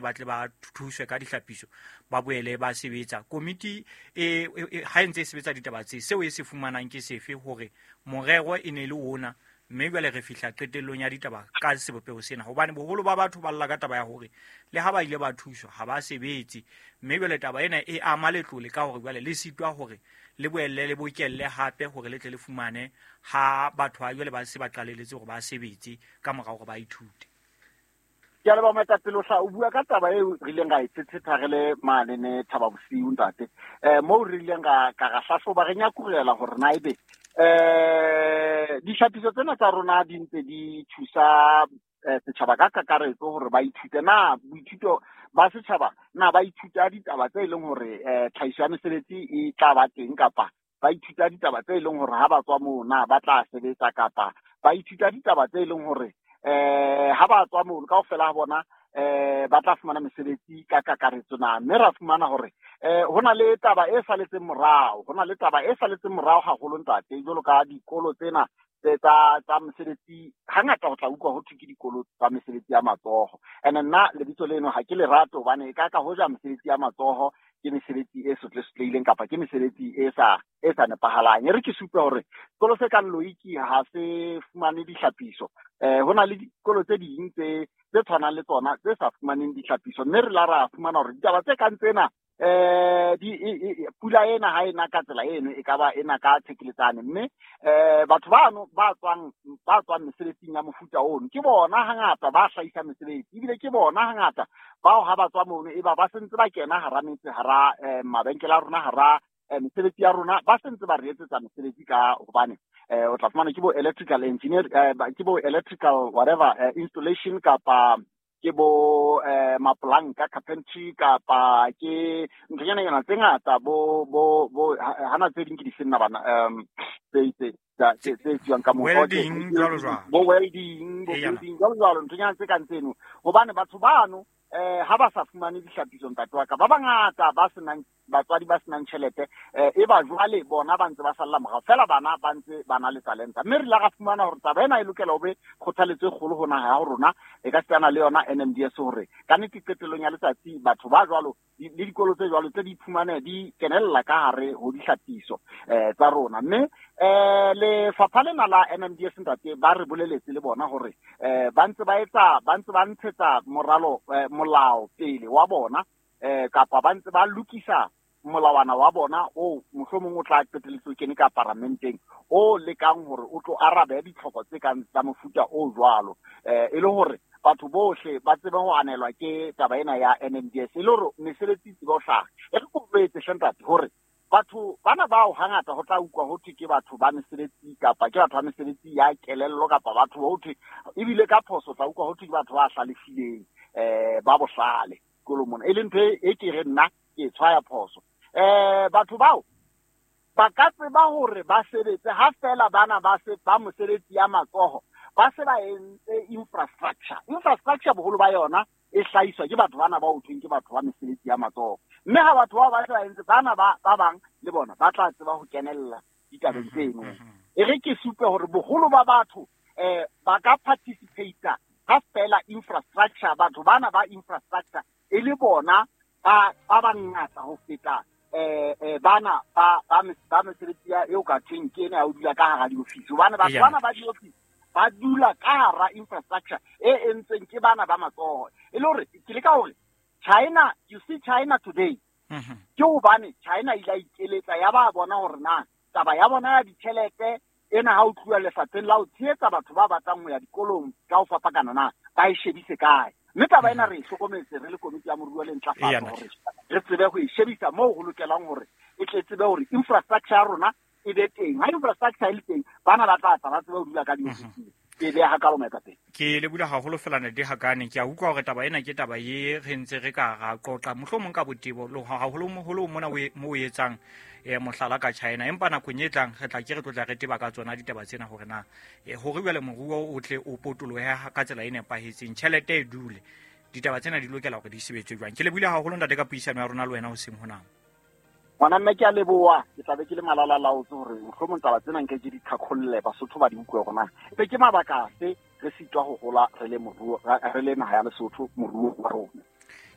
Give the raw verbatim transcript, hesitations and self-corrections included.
ba tle ba thuswe ka dihlapiso ba boele ba sebetsa. Komiti e ha e ntse e sebetsa ditaba tse, seo e se fumanang ke sefe hore morero e ne le ona, mme jwale re fihla qetellong ya ditaba ka sebopeho sena, hobane boholo ba batho ba lla ka taba ya hore le ha ba ile ba thuswa ha ba sebetse, mme jwale taba ena e ama letlole ka hore jwale le sitwa hore le boelle le bokelle hape hore le tle le fumane ha batho ba jwale ba se ba qaleletse hore ba sebetse ka morao hore ba ithute. Ke a leboha moetapele, o hla o bua ka taba eo re ileng ra e thethetha re le mane ne Thaba Bosiu ntate. Eh moo re ileng ra ka ra hlahloba re nyakurela hore na ebe eh dihlapiso tsena tsa rona di ntse di thusa setjhaba ka kakaretso hore ba ithute na boithuto ba setjhaba na ba ithuta ditaba tse leng hore tlhahiso ya mesebetsi e tla ba teng, kapa ba ithuta ditaba tse leng hore ha ba tswa moo na ba tla sebetsa, kapa ba ithuta ditaba tse leng hore eh ha ba tswa moo kaofela ha bona eh ba tla fumana mesebetsi ka kakaretso na. Mme ra fumana hore eh hona le taba e saletseng morao, hona le taba e saletseng morao haholo ntate, jwalo ka dikolo tsena tse tsa tsa mesebetsi. Hangata ho tla utlwa ho thwe ke dikolo tsa mesebetsi ya matsoho, ene nna lebitso leno ha ke le rate hobane e ka ka hoja mesebetsi ya matsoho ke mesebetsi e sotlesotlehileng kapa ke mesebetsi e sa e sa nepahalang. E re ke supe hore sekolo se kang Loiki ha se fumane dihlapiso, eh hona le dikolo tse ding tse tse tshwanang le tsona tse sa fumaneng dihlapiso, mme re la ra fumana hore ditaba tse kang tsena eh di pula ena ha ena ka tsela eno e ka ba ena ka thekeletsane, mme eh batho bano ba tswang ba tswang mesebetsing ya mofuta ono ke bona hangata ba hlahisa mesebetsi, ebile ke bona hangata bao ha ba tswa mono e ba ba sentse ba kena hara metse, hara mabenkele a rona, hara mesebetsi ya rona, ba sentse ba re etsetsa mesebetsi ka hobane eh o tla fumana ke bo electrical engineer, ke bo electrical whatever installation, kapa ke bo eh maplanka carpentry, kapa ke nthonyana yona tse ngata bo bo bo hana tse ding ke di senna bana um tse tse tse tse tswang ka mo welding jwalo jwalo, bo welding bo building jwalo jwalo, nthonyana tse kang tseno, hobane batho bano eh ha ba sa fumane dihlapiso ntate wa ka ba bangata ba senang batswadi ba senang tjhelete, eh e ba jwale bona ba ntse ba salla morao fela, bana ba ntse ba na le talenta. Mme re la ra fumana hore taba ena e lokela ho be kgothaletso e kgolo ho naha ya rona, e ka setsana le yona N M D S hore ka nnete qetellong ya letsatsi batho ba jwalo le dikolo tse jwalo tse di iphumane di kenella ka hare ho dihlapiso eh tsa rona. Mme eh lefapha lena la N M D S ntate ba re boleletse le bona hore eh ba ntse ba etsa ba ntse ba ntshetsa moralo molao pele wa bona, eh kapa ba ntse ba lokisa molawana wa bona o mohlomong o tla qetelletse o kene ka paramenteng o lekang hore o tlo arabe ditlhoko tse kang tsa mofuta o jwalo, eh e le hore batho bohle ba tsebe ho anelwa ke taba ena ya N M D S, e le hore mesebetsi e tsebe ho hlaha. E re ko boletse hle ntate hore batho bana bao hangata ho tla utlwa ho thwe ke batho ba mesebetsi kapa ke batho ba mesebetsi ya kelello, kapa batho ba ho thwe ebile ka phoso tla utlwa ho thwe ke batho ba hlalefileng eh ba bohlale sekolong mona, e leng ntho e ke re nna ke tshwaya phoso. Eh batho bao ba ka tseba hore ba sebetse ha fela bana ba se ba mosebetsi ya matsoho ba se ba entse infrastructure. Infrastructure boholo ba yona e hlahiswa ke batho bana ba ho thweng ke batho ba mesebetsi ya matsoho, mme ha batho bao ba se ba entse bana ba ba bang le bona ba tla tseba ho kenella ditabeng tseno. E re ke supe hore boholo ba batho eh ba ka participate ha fela infrastructure, batho bana ba infrastructure e le bona ba ba bangata ho feta eh eh bana ba ba ba mesebetsi ya eo ka thweng ke ena ya ho dula ka hara diofisi, hobane batho bana ba diofisi ba dula ka hara infrastructure e entsweng ke bana ba matsoho. E le hore ke leka hore China, you see China today, ke hobane China ile a ikeletsa ya ba bona hore na taba ya bona ya ditjhelete ena ha o tluwa lefapheng la ho tshehetsa batho ba batlang ho ya dikolong ka ho fapakana na ba e shebise kae. Mme taba ena re e hlokometse re le komiti ya moruo le ntlafatso hore re tsebe ho e shebisa moo ho lokelang hore e tle tsebe hore infrastructure ya rona e be teng. Ha infrastructure e le teng, bana ba tla tla ba tsebe ho dula ka diofising. Ke beha hakalo moetapele. Ke le bula haholo fela ntate Hakane, ke a utlwa hore taba ena ke taba ye re ntse re ka ra qoqa mohlomong ka botebo le haholo holo mona mo o etsang eh mohlala ka China, empa nakong e tlang re tla ke re tlotla re teba ka tsona ditaba tsena hore na hore jwale moruo o tle o potolohe ka tsela e nepahetseng, tjhelete e dule, ditaba tsena di lokela hore di sebetse jwang. Ke le bula haholo ntate ka puisano ya rona le wena hoseng hona. Ngwana mme ke a leboha, ke tla be ke le malala laotse hore mohlomong taba tsena nke ke di thakholle Basotho ba di utlwe hore na be ke mabaka afe re sitwa ho hola re le moruo, re le naha ya Lesotho moruo wa rona.